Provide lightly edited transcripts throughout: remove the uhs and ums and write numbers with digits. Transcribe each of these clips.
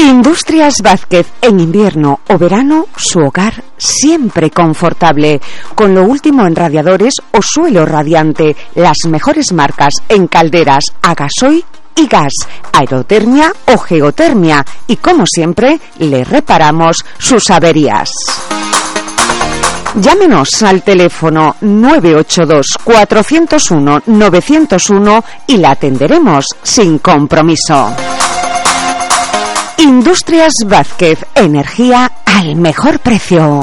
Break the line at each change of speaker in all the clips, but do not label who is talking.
Industrias Vázquez, en invierno o verano, su hogar siempre confortable, con lo último en radiadores o suelo radiante, las mejores marcas en calderas a gasoil y gas, aerotermia o geotermia, y como siempre, le reparamos sus averías. Llámenos al teléfono 982-401-901 y la atenderemos sin compromiso. Industrias Vázquez, energía al mejor precio.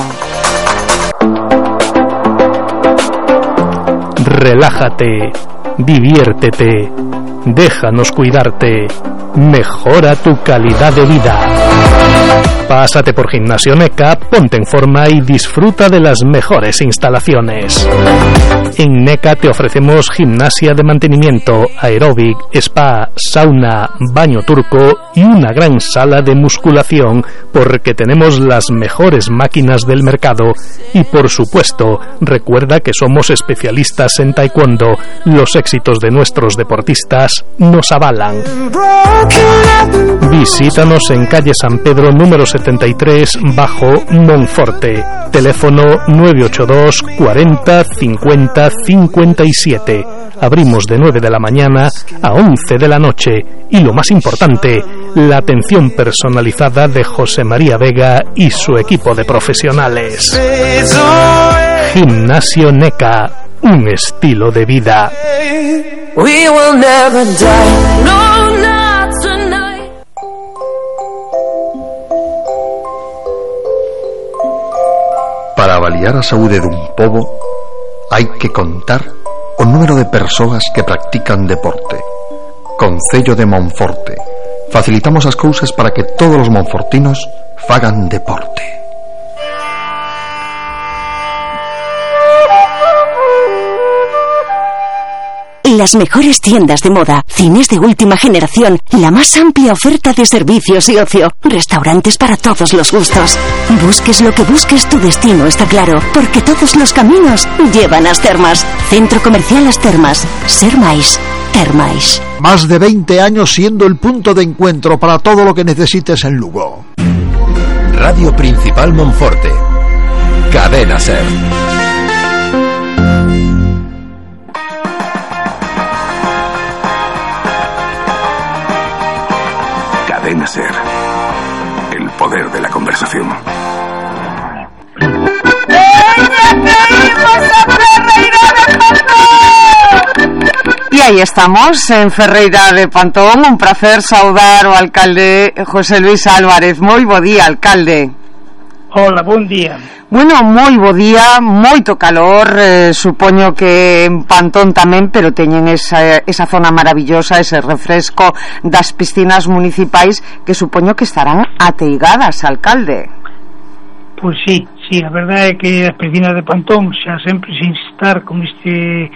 Relájate, diviértete, déjanos cuidarte, mejora tu calidad de vida. Pásate por Gimnasio NECA, ponte en forma y disfruta de las mejores instalaciones. En NECA te ofrecemos gimnasia de mantenimiento, aeróbic, spa, sauna, baño turco y una gran sala de musculación, porque tenemos las mejores máquinas del mercado. Y por supuesto, recuerda que somos especialistas en taekwondo. Los éxitos de nuestros deportistas nos avalan. Visítanos en calle San Pedro número 73 bajo Monforte. Teléfono 982 40 50 57. Abrimos de 9 de la mañana a 11 de la noche. Y lo más importante, la atención personalizada de José María Vega y su equipo de profesionales. Gimnasio NECA, un estilo de vida.
We will never die. No, not tonight.
Para avaliar a saúde dun pobo hai que contar o número de persoas que practican deporte. Concello de Monforte. Facilitamos as cousas para que todos os monfortinos fagan deporte.
Las mejores tiendas de moda, cines de última generación, la más amplia oferta de servicios y ocio, restaurantes para todos los gustos. Busques lo que busques, tu destino está claro, porque todos los caminos llevan a As Termas. Centro Comercial As Termas. Ser máis, ter máis.
Más de 20 años siendo el punto de encuentro para todo lo que necesites en Lugo.
Radio Principal Monforte. Cadena Ser.
Cadena Ser. El poder de la conversación.
Y ahí estamos, en Ferreira de Pantón. Un placer saudar ao alcalde José Luis Álvarez. Moi bo día, alcalde.
Hola, bon día.
Bueno, moi bo día, moito calor, supoño que en Pantón tamén, pero teñen esa zona maravillosa, ese refresco das piscinas municipais que supoño que estarán ateigadas, alcalde.
Pois sí, a verdade é que as piscinas de Pantón xa sempre sin estar con este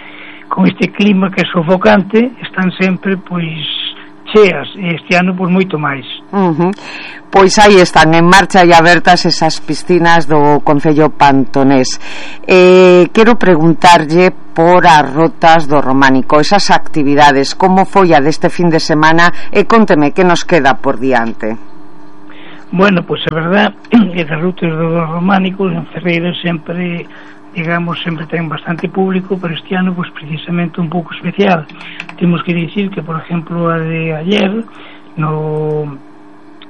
clima que é sofocante, están sempre pois cheas, e este ano pois moito máis.
Pois aí están en marcha e abertas esas piscinas do Concello Pantonés. Quero preguntarlle por as rotas do Románico, esas actividades, como foi a deste fin de semana, e conteme que nos queda por diante.
Bueno, pois a verdade é que as rutas do Románico en Ferreira sempre, digamos, sempre ten bastante público, pero este ano pois precisamente un pouco especial. Temos que dicir que, por exemplo, a de ayer no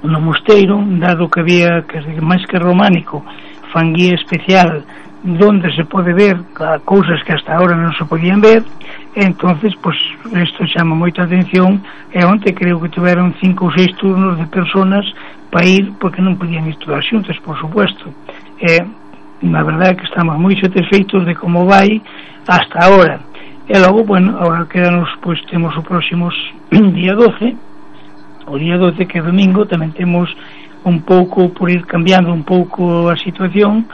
Mosteiro, dado que había que máis que Románico fan guía especial donde se pode ver cousas que hasta ahora non se podían ver, entonces pois isto chama moita atención, e onte creo que tiveron 5 ou 6 turnos de personas para ir, porque non podían ir todas xuntas, por supuesto. Na verdade que estamos moi satisfeitos de como vai hasta ahora. E logo, bueno, agora quedanos, pois temos o próximo día 12, o día 12 que é domingo, tamén temos un pouco por ir cambiando un pouco a situación,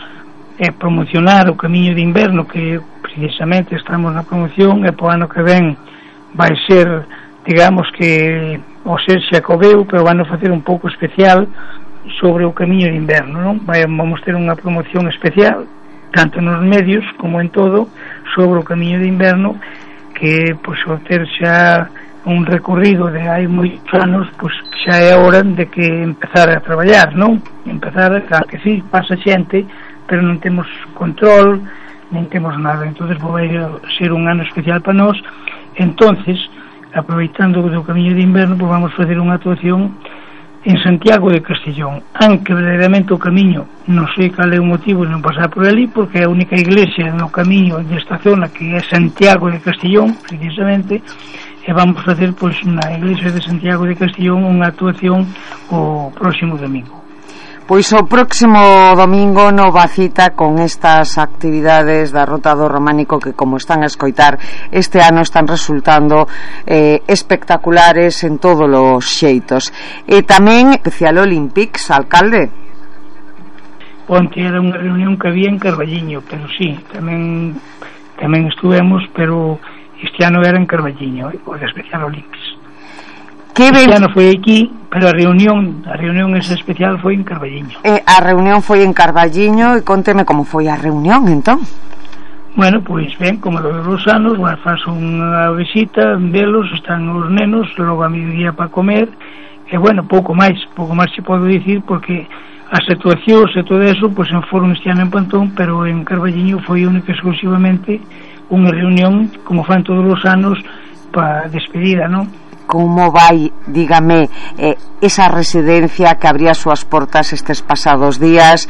e promocionar o camiño de inverno, que precisamente estamos na promoción, e po ano que ven vai ser, digamos que o ser Xacobeo, pero van a facer un pouco especial sobre o camiño de inverno, non? Vamos ter unha promoción especial, tanto nos medios como en todo, sobre o camiño de inverno, que pois ao ter xa un recorrido de hai moitos anos, pois xa é hora de que empezar a traballar, non? Empezar, claro que sí, pasa xente, pero non temos control, non temos nada. Entonces vai ser un ano especial para nós. Entonces, aproveitando o camiño de inverno, pois vamos facer unha actuación en Santiago de Castellón, aunque verdadeiramente o camiño non sei cal é o motivo de non pasar por ali, porque é a única iglesia no camiño desta zona que é Santiago de Castellón, precisamente, e vamos facer pois na iglesia de Santiago de Castellón unha actuación o próximo domingo.
Pois o próximo domingo nova cita con estas actividades da Rota do Románico que, como están a escoitar, este ano están resultando espectaculares en todos os xeitos. E tamén Especial Olympics, alcalde.
Onte era unha reunión que había en Carballiño, pero sí, tamén estuvemos, pero este ano era en Carballiño, o de Especial Olympics. Este ano foi aquí, pero a reunión esa especial foi en Carballiño.
A reunión foi en Carballiño, e conteme como foi a reunión, entón.
Bueno, pois ben, como todos os anos, faz unha visita, velos, están os nenos, logo a mediodía para comer, e bueno, pouco máis se podo dicir, porque as actuacións e todo eso, pois foron este ano en Pantón, pero en Carballiño foi única exclusivamente unha reunión, como fan todos os anos, para despedida, non?
Como vai, dígame, esa residencia que abría as súas portas estes pasados días,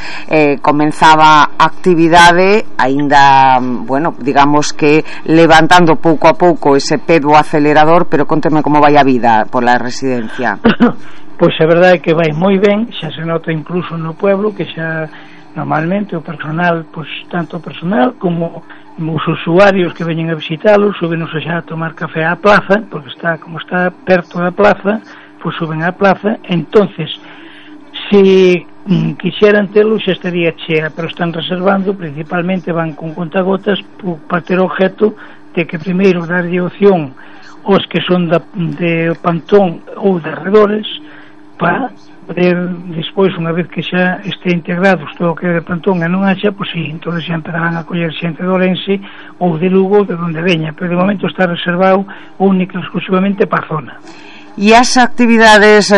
comenzaba actividade, aínda, bueno, digamos que levantando pouco a pouco ese pé do acelerador, pero conteme como vai a vida por la residencia.
Pois a verdade é que vai moi ben, xa se nota incluso no pueblo, que xa normalmente o personal, pois tanto o personal como os usuarios que veñen a visitalos subenos xa a tomar café á plaza, porque como está perto da plaza, pois suben á plaza. Entonces, se quixeran telo xa estaría chea, pero están reservando, principalmente van con contagotas para ter objeto de que primeiro darlle opción aos que son de Pantón ou de arredores, para poder despois, unha vez que xa este integrados todo o que é de Pantón e non haxa, pois sí, entón xa empezarán a coller xente de Ourense ou de Lugo, de onde veña, pero de momento está reservado única e exclusivamente para a zona.
E as actividades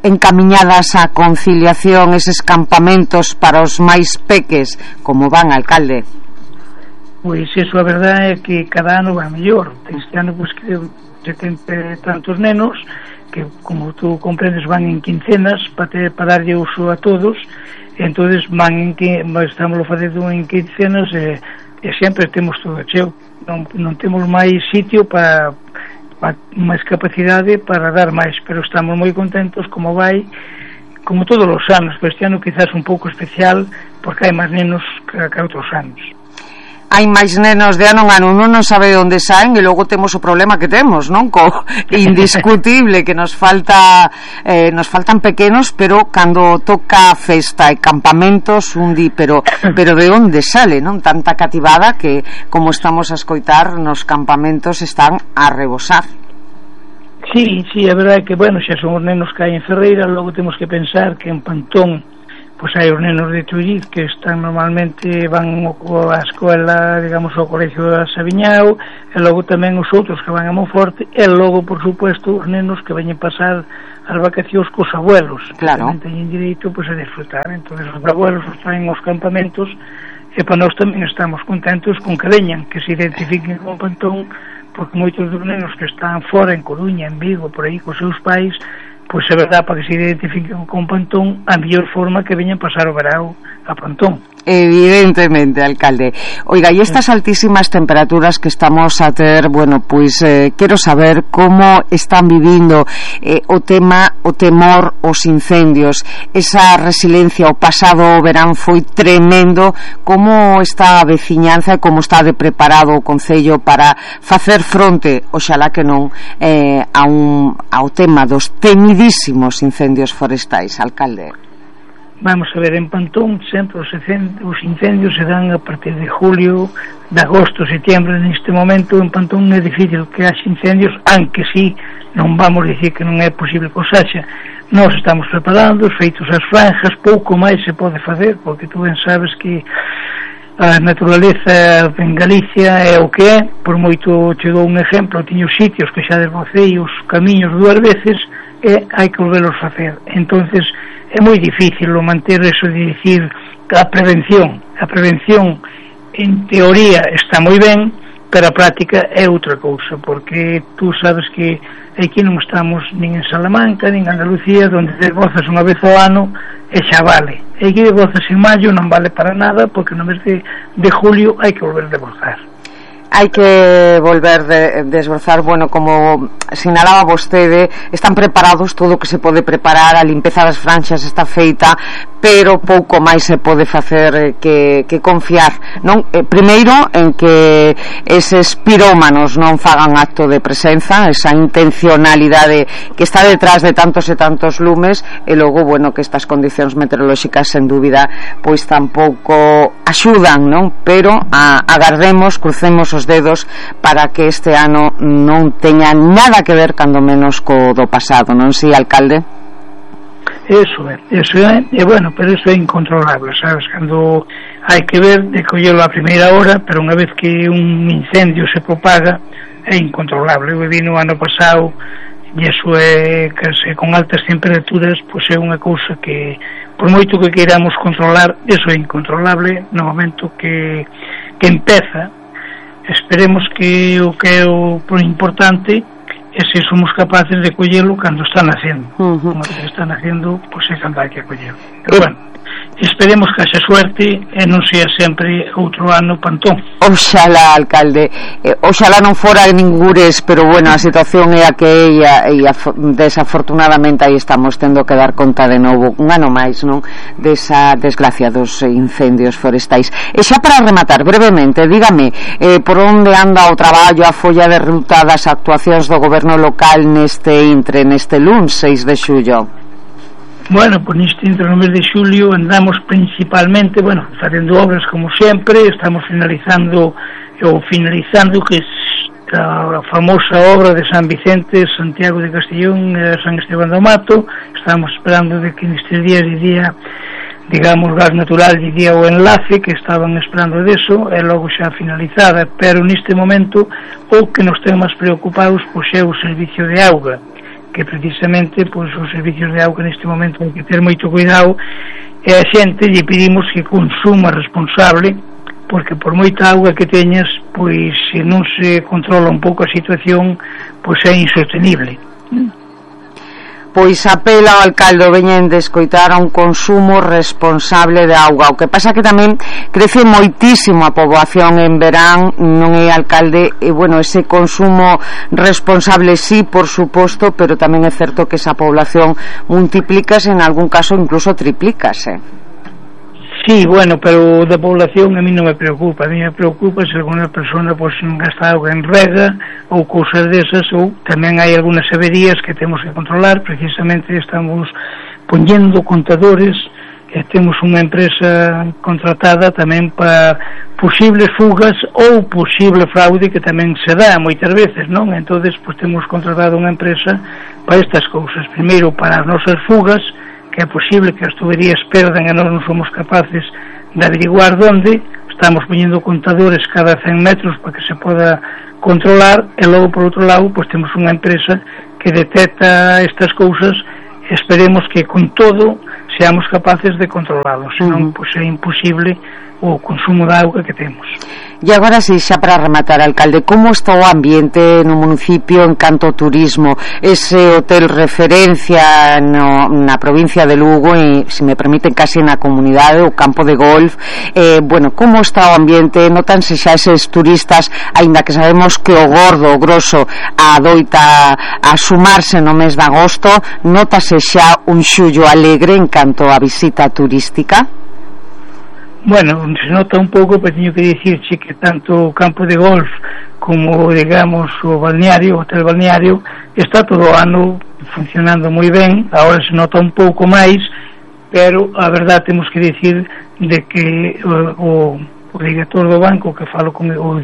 encamiñadas á conciliación, eses campamentos para os máis peques, como van, alcalde?
Pois eso, a verdade é que cada ano vai mellor. Este ano, pois, creo 70 tantos nenos que, como tú comprendes, van en quincenas para darlle uso a todos, e entonces estamos facendo en quincenas, e sempre temos todo cheo, non temos máis sitio para máis capacidade para dar máis, pero estamos moi contentos como vai, como todos os anos, pero este ano quizás un pouco especial porque hai máis nenos que outros anos.
Hai máis nenos de ano en ano, non sabe onde saen, e logo temos o problema que temos, non? Indiscutible que nos faltan pequenos, pero cando toca festa e campamentos pero de onde sale, non? Tanta cativada que, como estamos a escoitar, nos campamentos están a rebosar.
Sí, a verdade é que, bueno, xa son os nenos que hai en Ferreira, logo temos que pensar que en Pantón pois hai os nenos de Tulliz que están normalmente, van á escola, digamos, ao colegio de Sabiñao, e logo tamén os outros que van a Monforte, e logo, por supuesto, os nenos que veñen pasar as vacacións cos abuelos,
claro,
que tamén teñen direito pois a disfrutar. Entón os abuelos os traen aos campamentos, e para nós tamén estamos contentos con que veñan, que se identifiquen con Pantón, porque moitos dos nenos que están fora, en Coruña, en Vigo, por aí, cos seus pais, pois é verdade, para que se identifiquen con Pantón, a mellor forma que veñan pasar o verao a Pantón.
Evidentemente, alcalde. Oiga, e estas altísimas temperaturas que estamos a ter, bueno, pois quero saber como están vivindo o temor aos incendios, esa resiliencia. O pasado verán foi tremendo. Como está a veciñanza e como está de preparado o Concello para facer fronte, oxalá que non, ao tema dos temidísimos incendios forestais, alcalde?
Vamos a ver, en Pantón sempre os incendios se dan a partir de julio, de agosto, setembro. Neste momento en Pantón é difícil que haxe incendios, aunque sí, non vamos dicir que non é posible que os haxa. Nós estamos preparando, feitos as franjas, pouco máis se pode facer, porque tú ben sabes que a naturaleza en Galicia é o que é, por moito che dou un exemplo, tiño sitios que xa desbrocei os camiños 2 veces e hai que volverlos facer. Entonces é moi difícil manter eso de dicir a prevención en teoría está moi ben, pero a práctica é outra cousa, porque tú sabes que aquí non estamos nin en Salamanca nin en Andalucía, onde desbrozas unha vez ao ano e xa vale. E aquí desbrozas en maio non vale para nada, porque no mes de julio hai que volver a desbrozar.
Hai que volver desbrozar. Bueno, como sinalaba vostede, están preparados todo o que se pode preparar, a limpeza das franxas está feita, pero pouco máis se pode facer que confiar, non? Primeiro, en que eses pirómanos non fagan acto de presenza, esa intencionalidade que está detrás de tantos e tantos lumes, e logo, bueno, que estas condicións meteorolóxicas, sen dúbida, pois tampouco axudan, non? Pero agardemos, crucemos os dedos para que este ano non teña nada que ver, cando menos, co do pasado, non si, alcalde?
Eso é, e bueno, pero eso é incontrolable, sabes, cando hai que ver de collelo a primeira hora, pero unha vez que un incendio se propaga é incontrolable. Eu vi no ano pasado e eso é que con altas temperaturas, pois é unha cousa que por moito que queiramos controlar, eso é incontrolable no momento que empeza. Esperemos que o que é o importante é se somos capaces de collelo cando están haciendo. Como que están haciendo, pois é cando hai que collelo. Pero bueno, esperemos que haxa suerte e non sea sempre outro ano pantón.
Oxalá, alcalde, oxalá non fora ningures, pero bueno, a situación é a que é, e desafortunadamente aí estamos tendo que dar conta de novo un ano máis, non, desa desgracia dos incendios forestais. E xa para rematar brevemente, dígame, por onde anda o traballo, a folla de ruta das actuacións do goberno local neste luns 6 de xullo?
Bueno, pues neste entre no mes de xulio andamos principalmente, bueno, facendo obras como sempre, estamos finalizando que a famosa obra de San Vicente, Santiago de Castellón e San Esteban do Mato. Estamos esperando de que nestes días diría, digamos, gas natural diría o enlace, que estaban esperando deso, e logo xa finalizada, pero neste momento o que nos ten máis preocupados pois é o servicio de auga, que precisamente pois os servicios de auga neste momento hai que ter moito cuidado, e a xente lle pedimos que consuma responsable, porque por moita auga que teñas, pois se non se controla un pouco a situación, pois é insostenible.
Pois apela ao alcalde veñen de escoitar a un consumo responsable de auga. O que pasa que tamén crece moitísimo a poboación en verán, non é, alcalde? E bueno, ese consumo responsable sí, por suposto, pero tamén é certo que esa población multiplícase, en algún caso incluso triplícase.
Sí, bueno, pero da población a mí non me preocupa. A mí me preocupa se alguna persona pois gasta auga en rega ou cousas desas, ou tamén hai algunhas averías que temos que controlar. Precisamente estamos poñendo contadores e temos unha empresa contratada tamén para posibles fugas ou posible fraude, que tamén se dá moitas veces, non? Entonces, pois temos contratado unha empresa para estas cousas. Primeiro, para as nosas fugas, que é posible que as tuberías perdan e nós non somos capaces de averiguar onde. Estamos poñendo contadores cada 100 metros para que se poda controlar, e logo por outro lado pois temos unha empresa que detecta estas cousas, e esperemos que con todo seamos capaces de controlarlos, senón pois é imposible o consumo de auga que temos.
E agora si, xa para rematar, alcalde, como está o ambiente no municipio en canto ao turismo? Ese hotel referencia na provincia de Lugo e, se me permiten, casi na comunidade, o campo de golf, bueno, como está o ambiente? Notanse xa eses turistas, aínda que sabemos que o gordo, o grosso, adoita a sumarse no mes de agosto, notase xa un xullo alegre en canto a visita turística?
Bueno, se nota un pouco, pero teño que dicirche que tanto o campo de golf como, digamos, o balneario, o hotel balneario, está todo o ano funcionando moi ben. Agora se nota un pouco máis, pero a verdade temos que dicir de que o director do banco que falo con o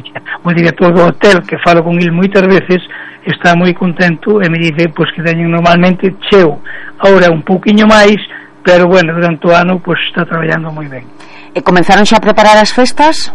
director do hotel que falo con ele moitas veces está moi contento e me dice pois que teñen normalmente cheo. Agora un pouquiño máis, pero bueno, durante o ano pois está traballando moi ben.
E comenzaron xa a preparar as festas?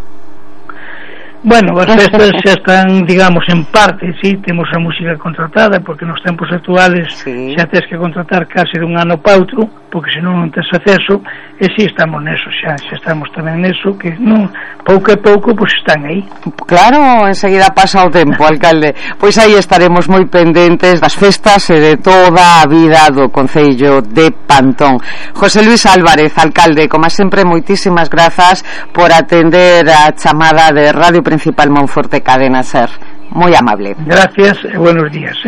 Bueno, as festas xa están, digamos, en parte, sí, temos a música contratada, porque nos tempos actuales xa tens que contratar case dun ano pa outro, porque senón non tens acceso, e si estamos neso xa estamos tamén neso, que non, pouco a pouco, pois están aí.
Claro, enseguida pasa o tempo, alcalde. Pois aí estaremos moi pendentes das festas e de toda a vida do Concello de Pantón. José Luis Álvarez, alcalde, como sempre, moitísimas grazas por atender a chamada de Radio Principal Monforte Cadena Ser. Moi amable.
Gracias e buenos días,